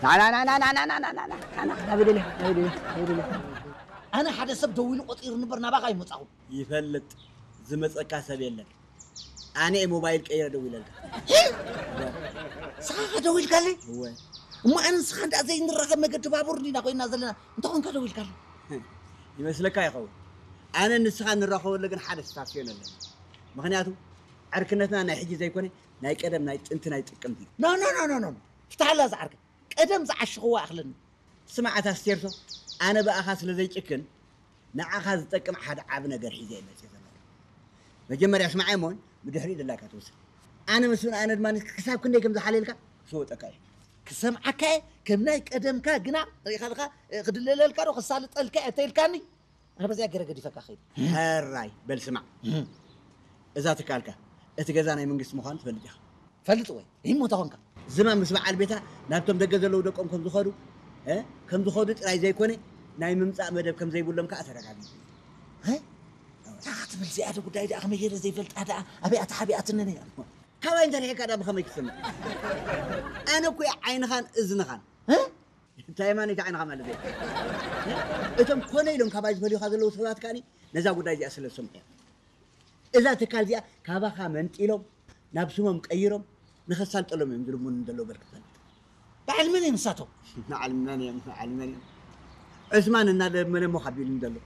ናበደለ ናበደለ ናበደለ ኣነ ሓደ ሰብ ደዊሉ ቆፂሩ ንበር ናባኻ ይመፃኹ። ይፈልጥ ዝመፀካ ሰብ የለን። ኣነ እየ ሞባይል ቀይረ ደዊለልካ። ንስኻ ደዊልካለይ? እወ። እሞ ኣነ ንስኻ እንዳ ዘይንራኸብ መገዲ ባቡር እንዲና ኮይና ዘለና እንተኾንካ ደዊልካለይ? ይመስለካ ይኸውን። ኣነ ንስኻ ንራኸበሉ ግን ሓደ ስታስዮን ኣለና። ምኽንያቱ ዕርክነትና ናይ ሕጂ ዘይኮነ ናይ ቀደም ናይ ጥንቲ ናይ ጥቅምቲ። ኖ ኖ ኖ ኖ ኖ ፍትሓላ ዝዓርከ ቀደም ዝዓሽኽዋ ኣኽለኒ። ስማዕ ኣታ ስቴርሶ፣ ኣነ ብኣኻ ስለ ዘይጭክን ንዓኻ ዝጠቅም ሓደ ዓቢ ነገር ሒዘ እየ መፅእ ዘለኹ። መጀመርያ ስማዕ እሞን ብድሕሪኡ ድላይካ ትውስን። ኣነ ምስ ኣነ ድማ ክሳብ ክንደይ ከም ዝሓልየልካ ክሰወጠካ እየ። ክሰምዓካ እየ ከም ናይ ቀደምካ ግና ርኢኻልካ ክድለለልካ ዶ ክሳልጠልካ እየ ተይልካኒ። ኣነ በዚኣ ገይረ ገዲፈካ ከይድ። ሕራይ በል ስማዕ፣ እዛ ትካልካ እቲ ገዛ ናይ መንግስቲ ምዃኑ ትፈልጥ ኢኻ። ፈልጥ ወይ ይሞታ ኾንካ ዝማም ምስ በዓል ቤታ ናብቶም ደገ ዘለዉ ደቆም ከም ዝኸዱ እ፣ ከም ዝኸዱ ጥራይ ዘይኮነ ናይ ምምፃእ መደብ ከም ዘይብሎም ከዓ ተረጋጊፁ። እንታይ ትብል እዚኣ ዶ ጉዳይ ደኣ ከመይ ገይረ ዘይፈልጣ ደኣ ኣበይ ኣተሓቢኣትኒ ነይራ። ካባይ እንተርሒካ ደኣ ብኸመይ ክስምዕ? ኣነ እኮ እየ ዓይንኻን እዝንኻን። እንታይ ማን ይተዓንኻ ማለት እዩ? እቶም ኮነ ኢሎም ካባይ ዝፈልዩኻ ዘለዉ ሰባት ከኣኒ ነዛ ጉዳይ እዚኣ ስለ ዝሰምዑ እዮም። እዛ ትካል እዚኣ ካባኻ መንጢሎም ናብ ስሞም ቀይሮም ንኸሳልጠሎም እዮም ዝልምኑ ዘለዉ በል ክትፈልጥ። በዓል መን እዮም ንሳቶም? በዓል መን እዮም? በዓል መን እዮም? ዑስማን እናለመነ እሞ ካቢሉኒ ዘሎ።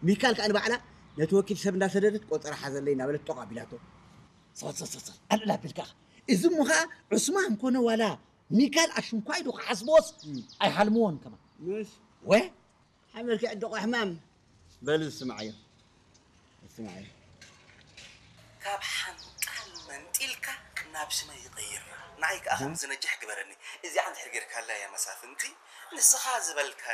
ሚካል ከኣ ንባዕላ ነቲ ወኪል ሰብ እንዳሰደደት ቆጸራ ሓዘለይ እናበለት ጦቕ ኣቢላቶ። ጸል ጸል ጸል ጸል ኣልዕል ኣቢልካ ኢኻ። እዚ እሞ ኸኣ ዑስማን ኮነ ዋላ ሚካል ኣሽንኳይ ዶ ክሓስብዎስ ኣይሓልምዎን ከማን። ምሽ ወ ሓመልኪ ዕድቆ ሕማም። በል ዝስምዓዮ። ዝስምዓዮ። ካብ ሓንጣል መንጢልካ ናብ ሽመ ይቐይራ። ንዓይ ከኣ ከም ዝነጅሕ ግበረኒ። እዚኣ እንድሕር ጌርካላ እያ መሳፍንቲ፣ ንስኻ ዝበልካኒ።